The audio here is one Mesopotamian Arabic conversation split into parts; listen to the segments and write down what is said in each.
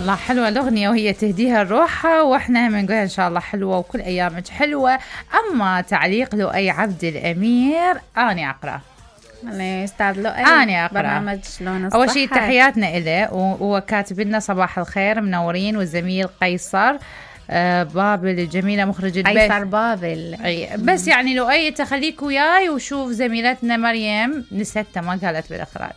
الله حلوة الأغنية وهي تهديها لروحها، وإحنا هم نقولها إن شاء الله حلوة وكل أيامك حلوة. أما تعليق لؤي عبد الأمير أنا أقرأ. أستاذ لؤي أنا أقرأ. برنامج شلون الصحة. أول شيء تحياتنا إله، وهو كاتب لنا صباح الخير منورين، والزميل قيصر بابل الجميلة مخرج البيت. قيصر بابل. بس يعني لؤي تخليك وياي وشوف زميلتنا مريم نسيتها ما قالت بالإخراج،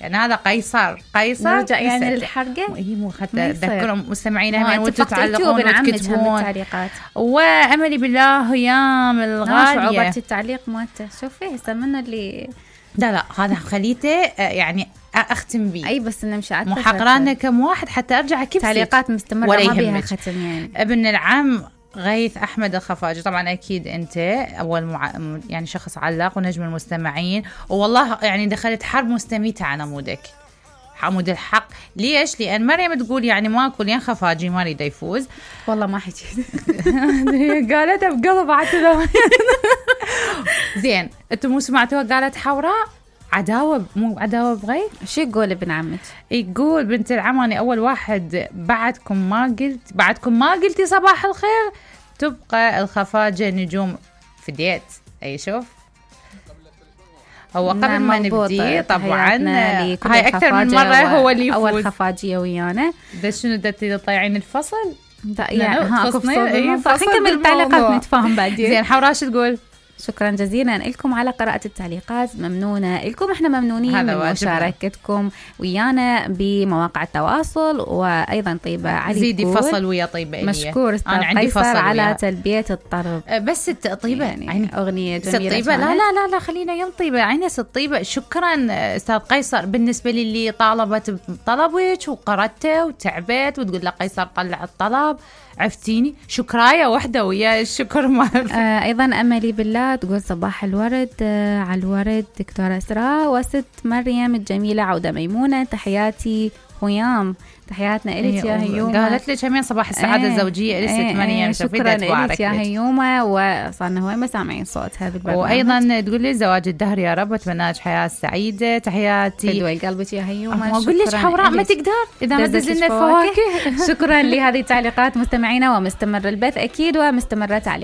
يعني هذا قيصر نرجع يعني للحرقة. هي مو حتى أذكرهم مستمعينا وانتوا تعلقون وتكتبون التعليقات. وأملي بالله هيام الغالية صعوبة التعليق مالته. شوفي هسه منه اللي لا هذا خليته يعني أختم بيه. أي بس نمشي على محقرانا كم واحد حتى أرجع كيف تعليقات مستمرة ما بيها ختم يعني. ابن العم غيث أحمد الخفاجي، طبعا أكيد أنت أول يعني شخص علق ونجم المستمعين، والله يعني دخلت حرب مستميتة على عمودك عمود الحق. ليش؟ لأن مريم تقول يعني ماكو لين خفاجي ما يريد يفوز. والله ما حكيت قالتها بقلب عتلة. زين انتم مو سمعتوها قالت حوراء عداوة، مو عداوة بغير. شو يقول ابن عمك؟ يقول بنت العم أنا أول واحد بعدكم ما قلتي صباح الخير، تبقى الخفاجة نجوم فديت. أي شوف هو قبل ما نبدي طبعا هاي أكثر من مرة هو اللي يفوز. أول خفاجية ويانا ده شنو دتي تطيعين الفصل يعني اكو فصل. نكمل التعليقات نتفاهم بعدين. زين حوراش تقول شكرا جزيلا لكم على قراءة التعليقات، ممنونة لكم. احنا ممنونين من مشاركتكم ويانا بمواقع التواصل، وأيضا طيبة علي زيدي فصل ويا طيبة إليه. مشكور أستاذ قيصر على تلبية الطلب. بس طيبة يعني أغنية جميلة. طيبة لا خلينا يوم طيبة عيني طيبة. شكرا أستاذ قيصر بالنسبة للي طالبت بطلبك وقرأته وتعبت وتقول له قيصر طلع الطلب، عفتيني شكراية وحدة ويا الشكر أيضا أملي بالله تقول صباح الورد على الورد دكتورة إسراء وست مريم الجميلة عودة ميمونة، تحياتي هيام. تحياتنا إليك يا هيومة. قالت لك همين صباح السعادة الزوجية إليك مريم. شكرا إليك يا هيومة، وصارنا هواي ما سامعين صوتها بالبرنامج. وأيضا تقول لي زواج الدهر يا رب، أتمنى لك حياة سعيدة. تحياتي فدوي قلبك يا هيومة. أقول لك حوراء ما تقدر إذا ما دزلنا الفواكه. شكرا لهذه التعليقات مستمعينا، ومستمر البث أكيد ومستمرة تعليقات.